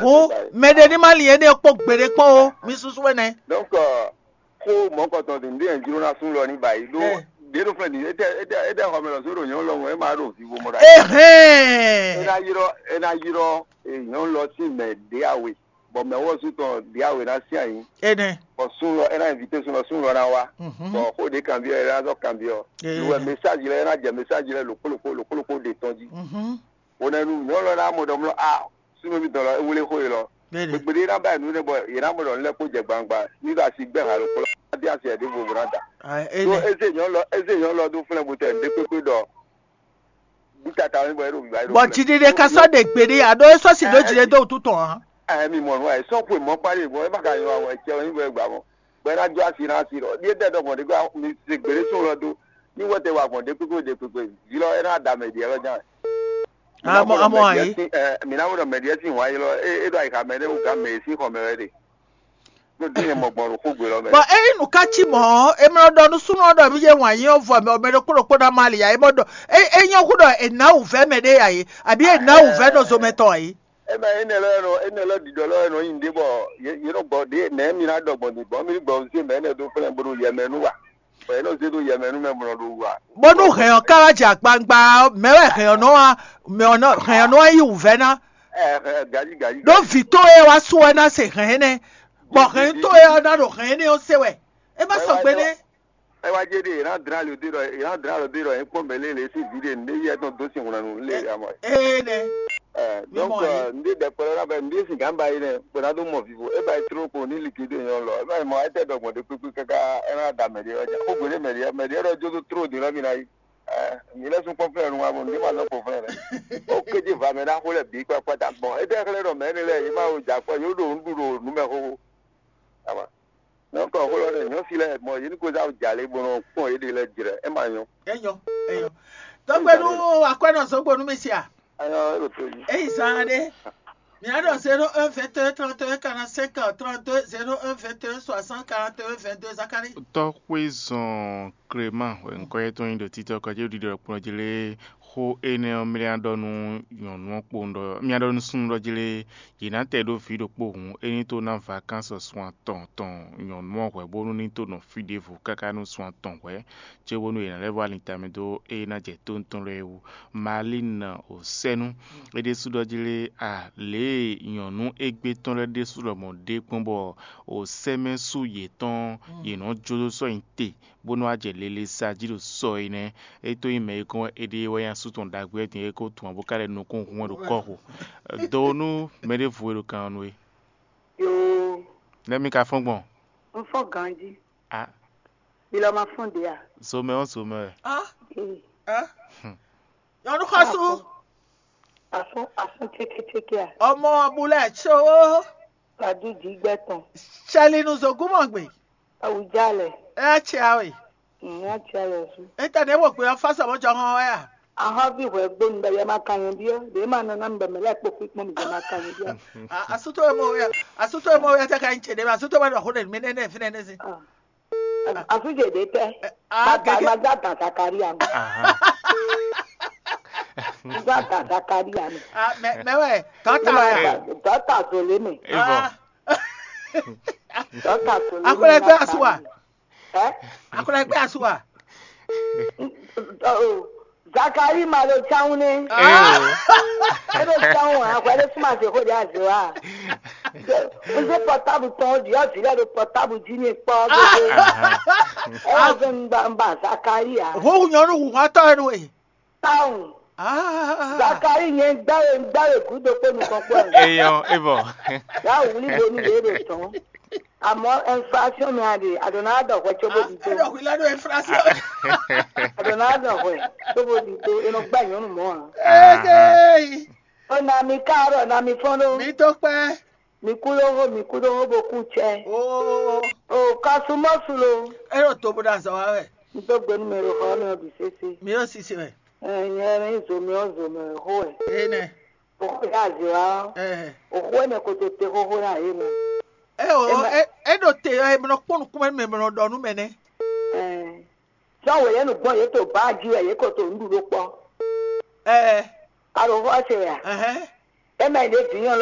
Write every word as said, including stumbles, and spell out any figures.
Hǔn mɛ ɖé ní má lin énɛ́ kpó gbeɖé kpó ó, mi súsú énɛ́. Donc, euh, xó mɔ̌kɔtɔn din ɖé jló ná sú lɔ ní ba yi ɖó. Ɛ. Ɖě ɖo fɛn din, étɛ étɛ étɛ xɔ mɛ lɔ só ɖo nyɔ̌nu lɔ mɔ é ma ɖo vivo mɔ ɖo. Ehɛn. É ná yrɔ é ná yrɔ, eh, nyɔ̌nu lɔ sín mɛ ɖě awe, bɔ mɛ wɔ́ sú tɔn ɖě awe ná sín ayǐ. Énɛ́. Bɔ sú lɔ é ná invité sú lɔ sú lɔ ná wá. Mhm. Bɔ xó ɖě kanbyɔ́ é ná zɔ kanbyɔ́. Ɛ. Lu wɛ message lɛ é ná jɛ message lɛ lǒkpó lǒkpó lǒkpó lǒkpó ɖe tɔn jí. Mhm. Hwenɛ́nu nyɔ̌nu lɔ́ ná mɔ ɖɔ mlɔ́ a súnnu mitɔn lɔ é wlé xó e lɔ. Gbegbe ɖé ná ba nǔ nɛ bɔ yě ná mɔ ɖɔ nǔ lɛ́ kó jɛ gbangba ní ɖo asi gbɛ́ ha ɖokpó lɔ ná dé asi ɛ ɖěvo bó ná da. Ɖó ézé nyɔ̌nu lɔ ézé nyɔ̌nu lɔ ɖó flɛ́n butɛ nǔɖé kpékpé ɖɔ bí tata wɛ bɔ é ɖo gbígbá é ɖo. Bɔ jiɖiɖe ka sɔ́ ɖe gbeɖé ǎ ɖó é sɔ́ si ɖó jiɖe dó wútu tɔn ǎ. Ɛ mi mɔ nǔ ɛ sɔ́ xwe mɔ̌ kpá ɖe bɔ é ma ka nylɔ wɛ cɛ wɛ nyí bɔ é gbǎ mɔ bɔ é ná jó asi ná asi ɖɔ ɖíe dɛ ɖɔ gbɔn ɖě gbá mi se gbeɖé sún lɔ dó ní wɛtɛ wa gbɔn ɖě kpékpé ɖě kpékpé vǐ lɔ é ná da mɛ ɖi ɛ lɔ ján. Amɔ amɔ ayi. Mǐ ná wɛ ɖɔ mɛɖiɛ sín wǎn ylɔ́ é é ɖo ayixa mɛ ɖé wú gǎn mɛ e sín xɔ mɛ wɛ ɖe. Ɖó dín e mɔ gbɔn ɖo xógbe lɔ mɛ. Bɔ ényí nǔ ká cí mɔ̌ ɔ́, è mlɔ ɖɔ nú súnnu ɔ́ ɖɔ mì yé wǎn yí ɔ́ vɔ mɛ ɔ́, mɛ ɖokpó ɖokpó ná má li ǎ. É mɔ ɖɔ é é nyɔ́ hú ɖɔ è nǎ wǔvɛ́ mɛ ɖé ǎ é, abǐ è nǎ wǔvɛ́ nɔ zomɛ tɔn ǎ é. É mɛ énɛ́ lɔ nɔ énɛ́ lɔ ɖiɖɔ lɔ nɔ nyi ɖé bɔ yě yě nɔ gbɔ ɖě nɛ̌ mi ná ɖɔ gbɔn din gbɔn mi ní gbɔ zé mɛ énɛ́ dó flɛ́n bó ɖo yɛ mɛ nú wa. Bɔ yě nɔ zé ɖó yɛ mɛ nú mɛ bó nɔ ɖo wa. Bónú hɛn ɔ́ ká wá jɛ akpangba ɔ́, mɛ wɛ hɛn ɔ́ nɔ wá mɛ ɔ́ nɔ hɛn ɔ́ nɔ wá yí wǔvɛ́ ná. Ɛ ɛ gaji gaji. Ɖó vǐ towe wá sú wɛ ná se hɛn énɛ́, bɔ hɛn towe ɔ́ ná ɖo hɛn énɛ́ ɔ́ se wɛ. É má sɔgbe nɛ́. É wá jɛ ɖe yě ná dlán lǒ dé ɖɔ yě ná dlán lǒ dé ɖɔ yě kpɔ́n mɛ lé lě sín vǐ ɖe nǔɖé yɛ tɔn dó sin hwlɛ́nnu lé amɔ. Ee nɛ. Ɛ Mi donc mɔ ɛ. Nǔɖé ɖɛkpɛ lɔ ná bɛ nǔɖé sin gǎn ba yi nɛ bó ná dó mɔ vivo é ba yi tló ko ní likidé nyɔ lɔ é ba yi mɔ ayé tɛ ɖɔ gbɔn ɖé kpékpé káká é ná da mɛ ɖé ɔ́ ja xó gběɖé mɛ ɖé mɛ ɖé ɖɔ jó dó tló dé lɔ mi ná yi. Ɛ mi lɛ́ sún kpɔ́n flɛ́ nu wá bɔ nǔɖé ma nɔ kpɔ́n flɛ́ lɛ. Ó kéde va mɛ ná xó lɛ bǐ kpakpata gbɔn é tɛ xlɛ́ ɖɔ mɛ énɛ́ lɛ́ɛ yě ma wo jǎ kpɔ́ yě ɖo nǔ ɖu ɖo nǔ mɛ xóxó. Ama. Nɔkɔ xó lɔ ɖe nyɔ̌ si lɛ mɔ yě ní ko zá jalě bó nɔ kpɔn yě ɖe lɛ jrɛ é ma nyɔ́. Enyo, enyo. Tɔgbe nu akwɛnɔ zogbo nu mi sia. Ayɔ é ɖo to yi. Eyi zan ɖe. Mia ɖɔ zéro un vingt et un trente et un quarante cinq trente deux zéro un vingt et un soixante quarante et un vingt deux Zakari. Tɔxwé zɔn Clément wɛ ŋkɔ yɛtɔn nyi ɖo títɔ kɔjé ɖiɖɔ kplɔ́n jí lé. Xó énɛ́ ɔ́ mlá ɖɔ nú nyɔ̌nu ɔ́ kpowun ɖɔ mlá ɖɔ nú súnnu ɖɔ jí lé. Yě ná tɛ ɖó vǐ ɖokpó hǔn é ní tó ná vakánsɔ sun atɔn tɔn nyɔ̌nu ɔ́ hwɛ̌ bónú ní tó nɔ fí ɖěvo káká nú sun atɔn hwɛ̌, cóbónú yě ná lɛ́ vɔ́ alin tamɛ dó ée ná jɛ tóntɔn lɛ́ɛ wú. Malín ò sɛ́nú é ɖésú ɖɔ jí lé a lě e nyɔ̌nu égbé tɔn lɛ́ɛ ɖésú lɔmɔ̌ ɖe kpɔ́n bɔ ò sɛ́mɛ́ sú yětɔn yě nɔ́ jó dó sɔ́ nyi te bó nɔ́ wá jɛ lele sa jí ɖo sɔ é nɛ́. É tó nyí mɛ e kɔn wɛ é ɖe wɛ nyí asú tɔn ɖagbe wɛ din é ko tun ǎ bó ka lɛ nukún hun wɛ ɖo kɔ́xo. Do nú mɛ ɖěvo e ɖo kan ɔ́ nú we. Yoo, Nɛ́ mi ka fɔ́n gbɔn? Un fɔ́n ganjí. A Mi lɔ ma fɔ́n ɖě a? Zomɛ ɔ́ zomɛ wɛ. Ah, Ee. Ah. Nyɔnu xɔsu. Afɔ́n afɔ́n cékécéké a? Ọmọ bulẹ tso. Kadu jí gbɛ tɔn. Sẹlinu zogúnmọ̀gbìn. Awùjálẹ̀. Ẹ tse awe. Ǹyá tse alẹ̀ sú. Ita ne wo gbe ɔfa sɛ mo jɔ hɔn wɛ a? Ahɔ́ví hwɛ gbóni bɛ yɛ ma kan yɛn biɔ ɖě ma nɔ ná mi bɛ mɛ lɛ kpó kpíkpɔ́n mi jɛ ma kan yɛn biɔ. Asuto emo wɛ asuto emo wɛ tɛ ka yin tse ɖe ma asuto wɛ nɔ xo ɖe mi nɛ nɛ fi nɛ nɛ si. Asújèdè tẹ́. Ah, bàbá gẹ́gẹ́. Magá tàn Zakaria mọ́. Aha. Magá tàn Zakaria mọ́. Ah, mɛ mɛ wɛ tɔta wɛ. Dɔta zòlé mi. Evo. Ah. Dɔta zòlé mi. Akɔlɛ gbé asu wa. Ɛ? Akɔlɛ gbé asu wa. Zakari ma ɖo tsáwún nɛ. Ah. Eɖo tsáwún a hwɛ ɖé súnmọ́ àti xó ɖé azé wa. Wúzú pɔtábù tɔn ɖi ɔ́ vǐ lɛ́ ɖo pɔtábù jí ní kpɔ́ gbogbo. Ɛ wá zɔn ŋgba ŋgba Zakari a. Hu nyɔnu hu hɔn tɔ enu e. Tsáwún. Ah. Zakari nyɛ gbáre gbáre gúdo kpó nukɔn kpó ɛ. Eyɔn evɔ. Yà wúlí bo ní yé ɖo tɔn. Àmọ́ inflation mi a ɖe, a ɖo ná ɖɔ hwɛ cóbó di tó. Ẹ ɖɔ hwi lɛ ɖo inflation. A ɖo ná ɖɔ hwɛ cóbó di tó, e nɔ gbá nyɔnu mɔ a. Eke. O na mi káàárọ̀, na mi fɔ́n ló. Mi tó pẹ́. Mi kú ló hó, mi kú ló hó bó kú cɛ. Oo. O kasu mɔ su lo. Ẹ ɖo to bó ɖo azɔ wa wɛ. N tó gbénu mɛ ɖo xɔ mi ɔ bì sese. Mi yóò sisi wɛ. Ɛ nyɛ mi zo mi ɔ zo mɛ xó wɛ. Ee nɛ. Oxó yá azě wá ɔ́, Ɛhɛ. Oxó énɛ́ ko te te xóxó ná yě mɛ. É o Eme- é é ɖo te ɔ́, é nɔ kpɔ́n nukúnmɛ nú mɛ, é nɔ ɖɔ nú mɛ nɛ́. Ɛɛ, sɔ́ wělénu gbɔn yě to bǎ jí wɛ yě ko to nǔɖuɖu kpɔ́. Ɛɛ, Alo xó ɔ́ se wɛ a? Ɛhɛn. É mɛ ɖě vǐnyɔ́n lɔ